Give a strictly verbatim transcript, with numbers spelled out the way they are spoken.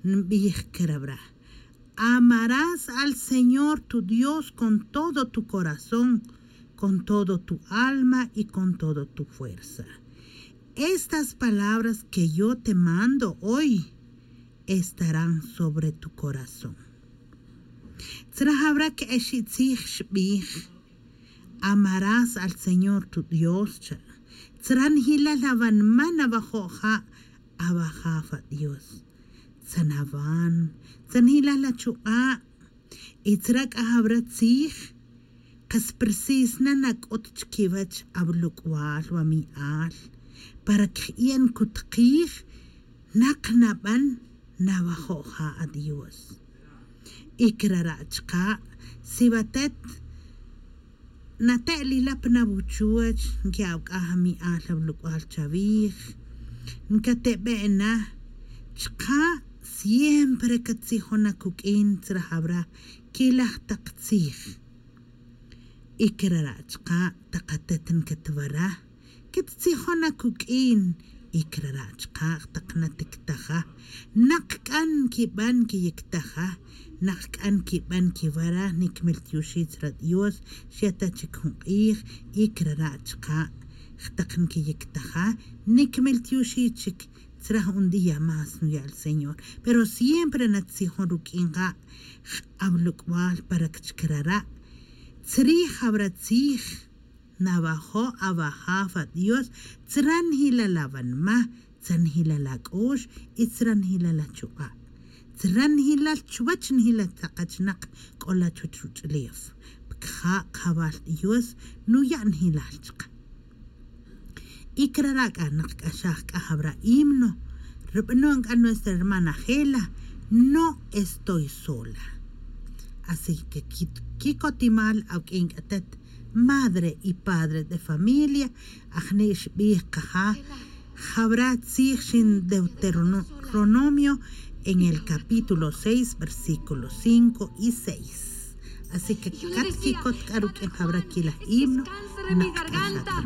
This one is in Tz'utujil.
Nbij caravra: Amarás al Señor tu Dios con todo tu corazón, con todo tu alma y con todo tu fuerza. Estas palabras que yo te mando hoy estarán sobre tu corazón. Tzra jawra que exitzij xbij: Amarás al Señor tu Dios, cha. Tzra njilal awanma nawajo' ja' awajaf adios. Tzanawan, tzanjilal achuk'a'. Y tzra c'a jawra tzij, kas precis na nac'ut chiquiwech awaluk'wal wami'al para cji'en cutkij nak naban nawajo' ja' adios. Y crara' chka', si watet nate'lila pa nawuchuwech, nqui'awc'aj ami'al awaluk'wal chawij, ncatebe' na. Chka' siempre catzijon na cuq'uin tzra jawra quilaj tak tzij. Y crara' chka' tak atet ncatwara, quetzijon na cuq'uin. Y crara' chka' tak natictaja, nak c'a nquiban quiyictaja, nak c'a nquiban quiwara, nicmel tioxi tzra dios. Xya ta chic jun k'ij. Y crara' chka' tak nquiyictaja, nicmel tioxi chic. Tzra jun día más nuya' el señor. Pero siempre natzijon ruq'uin ja' awaluk'wal para que chic rara'. Tzrij jawra tzij, nawajo' awajaf adios, tzra njilal awanma, tzra njilal ac'ox, y tzra njilal achuk'a'. Tzra njilal chuwech njilal tak achnak c'ola chuwech ruch'ulef, pa caja' kajawal dios nuya' njilal chka'. Y crara' c'a nak c'axaj c'a jawra himno, rubanon c'a nuestra hermana Gela: No estoy sola. Así que qui- quicotimal awq'uin c'a atet, madre y padre de familia, ajni' xbij kaja jawra tzij xin Deuteronomio en el capítulo seis, versículo cinco y seis. Así que cat quicot c'a ruq'uin jawra quilaj himno, nak c'axaj.